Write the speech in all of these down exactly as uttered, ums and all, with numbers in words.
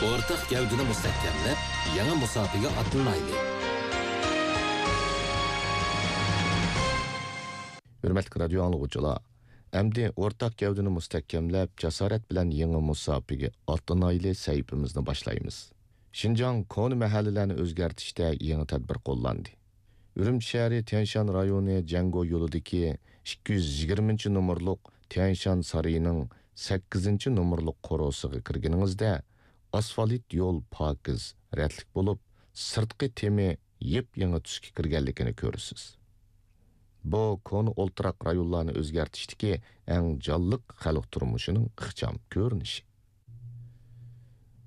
ئورتاق گەۋدىنى مۇستەھكەملەپ، يېڭى مۇساپىگە ئاتلىنايلى! ھۆرمەتلىك رادىيو ئاڭلىغۇچىلار، ئەمدى ئورتاق گەۋدىنى مۇستەھكەملەپ، جاسارەت بىلەن يېڭى مۇساپىگە ئاتلىنايلى سەھىپىمىزنى باشلايمىز. شىنجاڭ كونا مەھەللىلەرنى ئۆزگەرتىشتە يېڭى تەدبىر قوللاندى. ئۈرۈمچى شەھىرى تيەنشان رايونى جەڭگو يولىدىكى ئىككى يۈز يىگىرمىنچى نومۇرلۇق تيەنشان سارىيىنىڭ سەككىزىنچى نومۇرلۇق قورۇسىغا كىرگىنىڭىزدە، ئاسفالت يول پاكىز، رەتلىك بولۇپ، سىرتقى تېمى يېپيېڭى تۈسكە كىرگەنلىكىنى كۆرىسىز. بۇ كونا ئولتۇراق رايونلارنى ئۆزگەرتىشتىكى ئەڭ جانلىق خەلق تۇرمۇشىنىڭ ئىخچام كۆرۈنۈشى.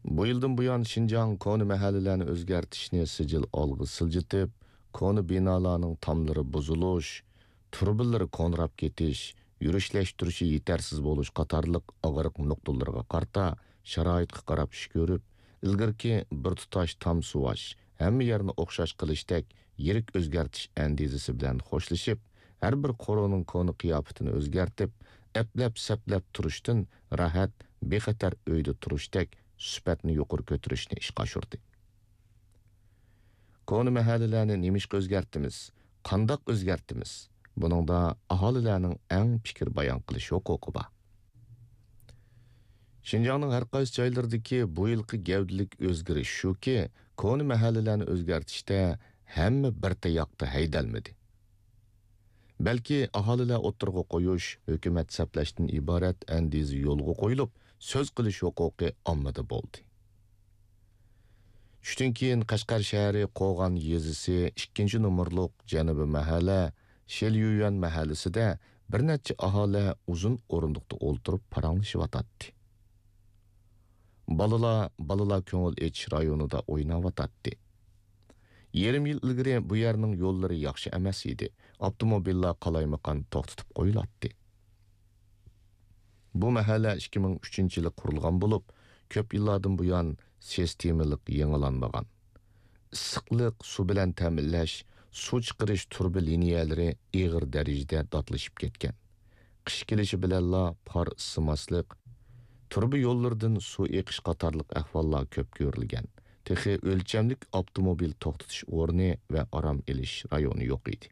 بۇ يىلدىن بۇيان، شىنجاڭ كونا مەھەللىلەرنى ئۆزگەرتىشنى سىجىل ئالغا سىلجىتىپ، كونا بىنالارنىڭ تاملىرى بۇزۇلۇش، تۇرۇبىلىرى كونىراپ كېتىش، يۈرۈشلەشتۈرۈشى يېتەرسىز بولۇش قاتارلىق ئاغرىق نۇقتىلىرىغا قارىتا شارائىتقا قاراپ ئىش كۆرۈپ، ئىلگىرىكى بىر تۇتاش تام سۇۋاش، ھەممە يەرنى ئوخشاش قىلىشتەك يىرىك ئۆزگەرتىش ئەندىزىسى بىلەن خوشلىشىپ، ھەر بىر قورۇنىڭ كونا قىياپىتىنى ئۆزگەرتىپ، ئەپلەپ-سەپلەپ تۇرۇشتىن راھەت، بىخەتەر ئۆيدە تۇرۇشتەك سۈپەتنى يۇقىرى كۆتۈرۈشنى ئىشقا ئاشۇردى. كونا مەھەللىلەرنى نېمىشقا ئۆزگەرتىمىز؟ قانداق ئۆزگەرتىمىز؟ بۇنىڭدا ئاھالىلەرنىڭ ئەڭ پىكىر بايان قىلىش ھوقۇقى بار. شىنجاڭنىڭ ھەر قايسى جايلىرىدىكى بۇ يىلقى گەۋدىلىك ئۆزگىرىش شۇكى، كونا مەھەللىلەرنى ئۆزگەرتىشتە ھەممە بىر تاياقتا ھەيدەلمىدى. بەلكى ئاھالىلەر ئوتتۇرىغا قويۇش، ھۆكۈمەت سەپلەشتىن ئىبارەت ئەندىزە يولغا قويۇلۇپ، سۆز قىلىش ھوقۇقى ئاممىدا بولدى. چۈشتىن كېيىن قەشقەر شەھىرى قوغان يېزىسى ئىككىنچى نومۇرلۇق جەنۇبىي مەھەللە شېليۈيۈەن مەھەللىسىدە بىر نەچچە ئاھالە ئۇزۇن ئورۇندۇقتا ئولتۇرۇپ پاراڭلىشىۋاتاتتى. بالىلار، بالىلار كۆڭۈل ئېچىش رايونىدا ئويناۋاتاتتى. يېرىم يىل ئىلگىرى بۇ يەرنىڭ يوللىرى ياخشى ئەمەس ئىدى، ئاپتوموبىللار قالايمىقان توختىتىپ قويۇلاتتى. بۇ مەھەللە ئىككى مىڭ ئۈچىنچى يىلى قۇرۇلغان بولۇپ، كۆپ يىللاردىن بۇيان سىستېمىلىق يېڭىلانمىغان. ئىسسىقلىق، سۇ بىلەن تەمىنلەش، سۇ چىقىرىش تۇرۇبا لىنىيەلىرى ئېغىر دەرىجىدە داتلىشىپ كەتكەن. قىش كېلىشى بىلەنلا پار ئىسسىماسلىق، تۇرۇبا يوللىرىدىن سۇ ئېقىش قاتارلىق ئەھۋاللار كۆپ كۆرۈلگەن. تېخى ئۆلچەملىك ئاپتوموبىل توختىتىش ئورنى ۋە ئارام ئېلىش رايونى يوق ئىدى.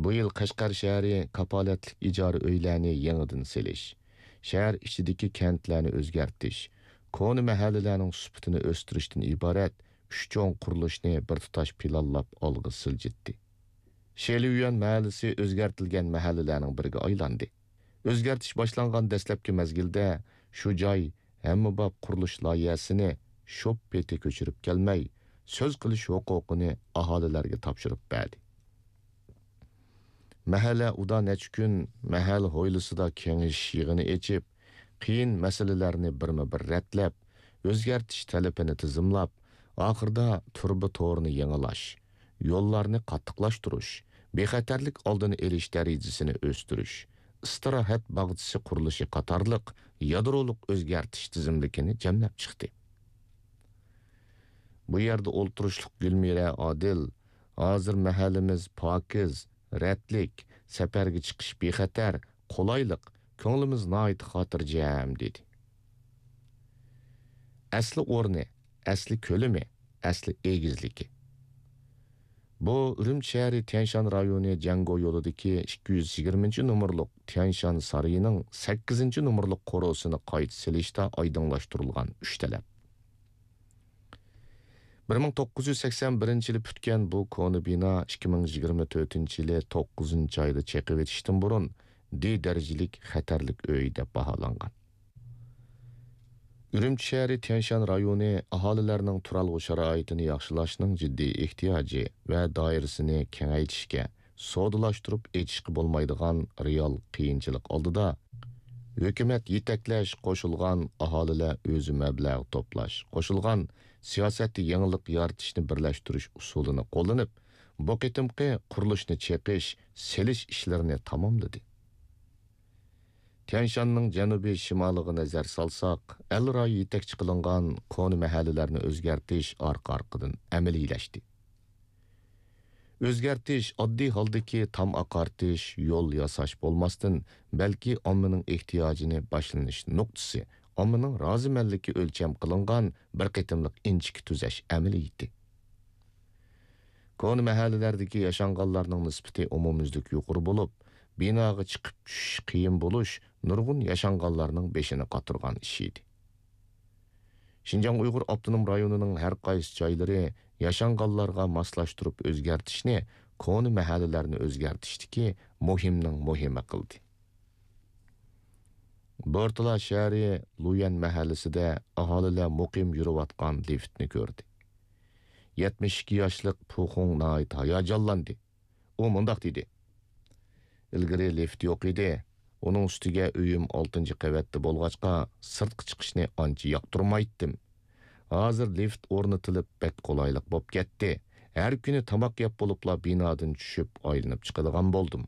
بۇ يىل قەشقەر شەھىرى كاپالەتلىك ئىجارە ئۆيلەرنى يېڭىدىن سېلىش، شەھەر ئىچىدىكى كەنتلەرنى ئۆزگەرتىش، كونا مەھەللىلەرنىڭ سۈپىتىنى ئۆستۈرۈشتىن ئىبارەت ئۈچ چوڭ قۇرۇلۇشنى بىر تۇتاش پىلانلاپ ئالغا سىلجىتتى. شېليۈەن مەھەللىسى ئۆزگەرتىلگەن مەھەللىلەرنىڭ بىرىگە ئايلاندى. ئۆزگەرتىش باشلانغان دەسلەپكى مەزگىلدە شۇ جاي ھەممىباب قۇرۇلۇش لايىھەسىنى شوپ پېتى كۆچۈرۈپ كەلمەي، سۆز قىلىش ھوقۇقىنى ئاھالىلەرگە تاپشۇرۇپ بەردى. مەھەللە ئۇدا نەچچە كۈن مەھەللە ھويلىسىدا كېڭىشىش يىغىنى ئېچىپ، قىيىن مەسىلىلەرنى بىرمۇ بىر رەتلەپ، ئۆزگەرتىش تەلىپىنى تىزىملاپ، ئاخىرىدا تۇرۇبا تورىنى يېڭىلاش، يوللارنى قاتتىقلاشتۇرۇش، بىخەتەرلىك ئالدىنى ئېلىش دەرىجىسىنى ئۆستۈرۈش، ئىستىراھەت باغچىسى قۇرۇلۇشى قاتارلىق يادرولۇق ئۆزگەرتىش تىزىملىكىنى جەملەپ چىقتى. بۇ يەردە ئولتۇرۇشلۇق گۈلمىرە ئادىل، ھازىر مەھەللىمىز پاكىز، رەتلىك، سەپەرگە چىقىش بىخەتەر، قولايلىق، كۆڭلىمىز ناھايىتى خاتىرجەم، دېدى. ئەسلى ئورنى، ئەسلى كۆلىمى، ئەسلى ئېگىزلىكى. بۇ ئۈرۈمچى شەھىرى تيەنشان رايونى جەڭگو يولىدىكى ئىككى يۈز يىگىرمىنچى نومۇرلۇق تيەنشان سارىيىنىڭ سەككىزىنچى نومۇرلۇق قورۇسىنى قايتا سېلىشتا ئايدىڭلاشتۇرۇلغان ئۈچ تەلەپ. بىر مىڭ توققۇز يۈز سەكسەن بىرىنچى يىلى پۈتكەن بۇ كونا بىنا ئىككى مىڭ يىگىرمە تۆتىنچى يىلى توققۇزىنچى ئايدا چېقىۋېتىشتىن بۇرۇن دى دەرىجىلىك خەتەرلىك ئۆي دەپ باھالانغان. ئۈرۈمچى شەھىرى تيەنشان رايونى ئاھالىلەرنىڭ تۇرالغۇ شارائىتىنى ياخشىلاشنىڭ جىددىي ئېھتىياجى ۋە دائىرىسىنى كېڭەيتىشكە، سودىلاشتۇرۇپ ئېچىشقا بولمايدىغان رېئال قىيىنچىلىق ئالدىدا، ھۆكۈمەت يېتەكلەش قوشۇلغان، ئاھالىلەر ئۆزى مەبلەغ توپلاش قوشۇلغان سىياسەتتە يېڭىلىق يارىتىشنى بىرلەشتۈرۈش ئۇسۇلىنى قوللىنىپ، بۇ قېتىمقى قۇرۇلۇشنى چېقىش، سېلىش ئىشلىرىنى تاماملىدى. تيەنشاننىڭ جەنۇبىي شىمالىغا نەزەر سالساق، ئەل رايى يېتەكچى قىلىنغان كونا مەھەللىلەرنى ئۆزگەرتىش ئارقا-ئارقىدىن ئەمەلىيلەشتى. ئۆزگەرتىش ئاددىي ھالدىكى تام ئاقارتىش، يول ياساش بولماستىن، بەلكى ئاممىنىڭ ئېھتىياجىنى باشلىنىش نۇقتىسى، ئاممىنىڭ رازىمەنلىكى ئۆلچەم قىلىنغان بىر قېتىملىق ئىنچىكە تۈزەش ئەمەلىيىتى. كونا مەھەللىلەردىكى ياشانغانلارنىڭ نىسبىتى ئومۇميۈزلۈك يۇقىرى بولۇپ، بىناغا چىقىپ چۈشۈش قىيىن بولۇش نۇرغۇن ياشانغانلارنىڭ بېشىنى قاتۇرغان ئىش ئىدى. شىنجاڭ ئۇيغۇر ئاپتونوم رايونىنىڭ ھەر قايسى جايلىرى ياشانغانلارغا ماسلاشتۇرۇپ ئۆزگەرتىشنى كونا مەھەللىلەرنى ئۆزگەرتىشتىكى مۇھىمنىڭ مۇھىمى قىلدى. بورتالا شەھىرى لۇيۈەن مەھەللىسىدە ئاھالىلەر مۇقىم يۈرۈۋاتقان لىفتنى كۆردى. يەتمىش ئىككى ياشلىق پۇخۇڭ ناھايىتى ھاياجانلاندى. ئۇ مۇنداق دېدى: «ئىلگىرى لىفت يوق ئىدى. ئۇنىڭ ئۈستىگە ئۆيۈم ئالتىنچى قەۋەتتە بولغاچقا، سىرتقا چىقىشنى ئانچە ياقتۇرمايتتىم. ھازىر لىفت ئورنىتىلىپ، بەك قولايلىق بولۇپ كەتتى. ھەر كۈنى تاماق يەپ بولۇپلا بىنادىن چۈشۈپ، ئايلىنىپ چىقىدىغان بولدۇم.»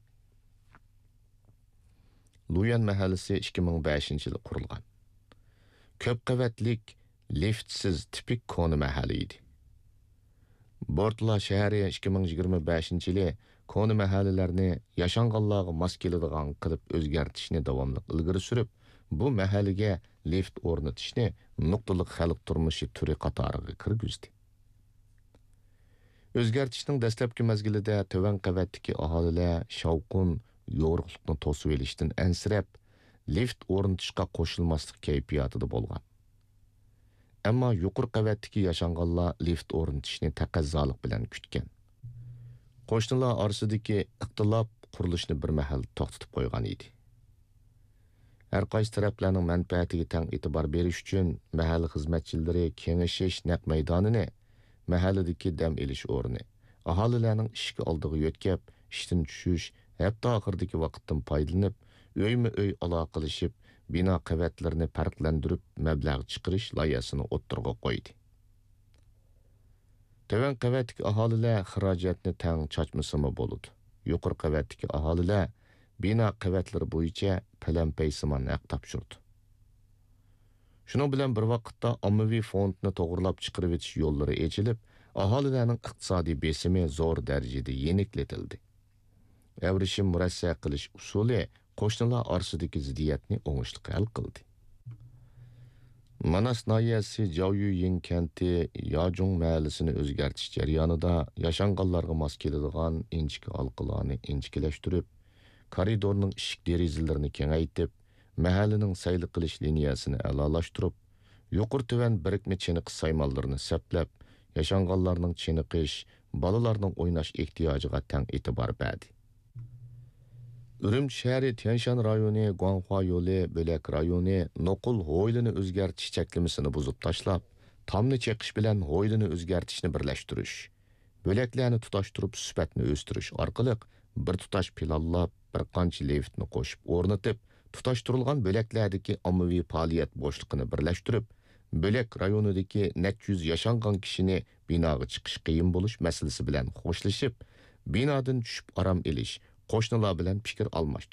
لۇيۈەن مەھەللىسى ئىككى مىڭ بەشىنچى يىلى قۇرۇلغان. كۆپ قەۋەتلىك، لىفتسىز تىپىك كونا مەھەللە ئىدى. بورتلا شەھىرى ئىككى مىڭ يىگىرمە بەشىنچى يىلى كونا مەھەللىلەرنى ياشانغانلارغا ماس كېلىدىغان قىلىپ ئۆزگەرتىشنى داۋاملىق ئىلگىرى سۈرۈپ، بۇ مەھەللىگە لىفت ئورنىتىشنى نۇقتىلىق خەلق تۇرمۇشى تۈرى قاتارىغا كىرگۈزدى. ئۆزگەرتىشنىڭ دەسلەپكى مەزگىلىدە تۆۋەن قەۋەتتىكى ئاھالىلەر شاۋقۇن، يورۇقلۇقنى توسۇۋېلىشتىن ئەنسىرەپ، لىفت ئورنىتىشقا قوشۇلماسلىق كەيپىياتىدا بولغان. ئەمما يۇقىرى قەۋەتتىكى ياشانغانلار لىفت ئورنىتىشنى تەقەززالىق بىلەن كۈتكەن. قوشنىلار ئارىسىدىكى ئىختىلاپ قۇرۇلۇشنى بىر مەھەل توختىتىپ قويغان ئىدى. ھەر قايسى تەرەپلەرنىڭ مەنپەئەتىگە تەڭ ئېتىبار بېرىش ئۈچۈن، مەھەللە خىزمەتچىلىرى كېڭىشىش نەق مەيدانىنى مەھەللىدىكى دەم ئېلىش ئورنى، ئاھالىلەرنىڭ ئىشىك ئالدىغا يۆتكەپ، ئىشتىن چۈشۈش، ھەپتە ئاخىرىدىكى ۋاقىتتىن پايدىلىنىپ، ئۆيمۇ ئۆي ئالاقىلىشىپ، بىنا قەۋەتلىرىنى پەرقلەندۈرۈپ، مەبلەغ چىقىرىش لايىھەسىنى ئوتتۇرىغا قويدى. تۆۋەن قەۋەتتىكى ئاھالىلەر خىراجەتنى تەڭ چاچمىسىمۇ بولىدۇ. يۇقىرى قەۋەتتىكى ئاھالىلەر بىنا قەۋەتلىرى بويىچە پەلەمپەيسىمان ھەق تاپشۇرىدۇ. شۇنىڭ بىلەن بىر ۋاقىتتا، ئاممىۋى فوندنى توغرىلاپ چىقىرىۋېتىش يوللىرى ئېچىلىپ، ئاھالىلەرنىڭ ئىقتىسادىي بېسىمى زور دەرىجىدە يېنىكلىتىلدى. ئەۋرىشىم مۇرەسسە قىلىش ئۇسۇلى قوشنىلار ئارىسىدىكى زىددىيەتنى ئوڭۇشلۇق ھەل قىلدى. ماناس ناھىيەسى جاۋيۈيىڭ كەنتى ياجۇڭ مەھەللىسىنى ئۆزگەرتىش جەريانىدا ياشانغانلارغا ماس كېلىدىغان ئىنچىكە ھالقىلارنى ئىنچىكىلەشتۈرۈپ، كارىدورنىڭ ئىشىك دېرىزىلىرىنى كېڭەيتىپ، مەھەللىنىڭ سەيلە قىلىش لىنىيەسىنى ئەلالاشتۇرۇپ، يۇقىرى تۆۋەن بىرىكمە چېنىقىش سايمانلىرىنى سەپلەپ، ياشانغانلارنىڭ چېنىقىش، بالىلارنىڭ ئويناش ئېھتىياجىغا تەڭ ئېتىبار بەردى. ئۈرۈمچى شەھىرى تيەنشان رايونى گۇاڭخۇا يولى بۆلەك رايونى نوقۇل ھويلىنى ئۆزگەرتىش چەكلىمىسىنى بۇزۇپ تاشلاپ، تامنى چېقىش بىلەن ھويلىنى ئۆزگەرتىشنى بىرلەشتۈرۈش، بۆلەكلەرنى تۇتاشتۇرۇپ سۈپەتنى ئۆستۈرۈش ئارقىلىق بىر تۇتاش پىلانلاپ، بىر قانچە لىفتنى قوشۇپ ئورنىتىپ، تۇتاشتۇرۇلغان بۆلەكلەردىكى ئاممىۋى پائالىيەت بوشلۇقىنى بىرلەشتۈرۈپ، بۆلەك رايونىدىكى نەچچە يۈز ياشانغان كىشىنى بىناغا چىقىش قىيىن بولۇش مەسىلىسى بىلەن خوشلىشىپ، بىنادىن چۈشۈپ ئارام ئېلىش، قوشنىلار بىلەن پىكىر ئالماشتۇرۇش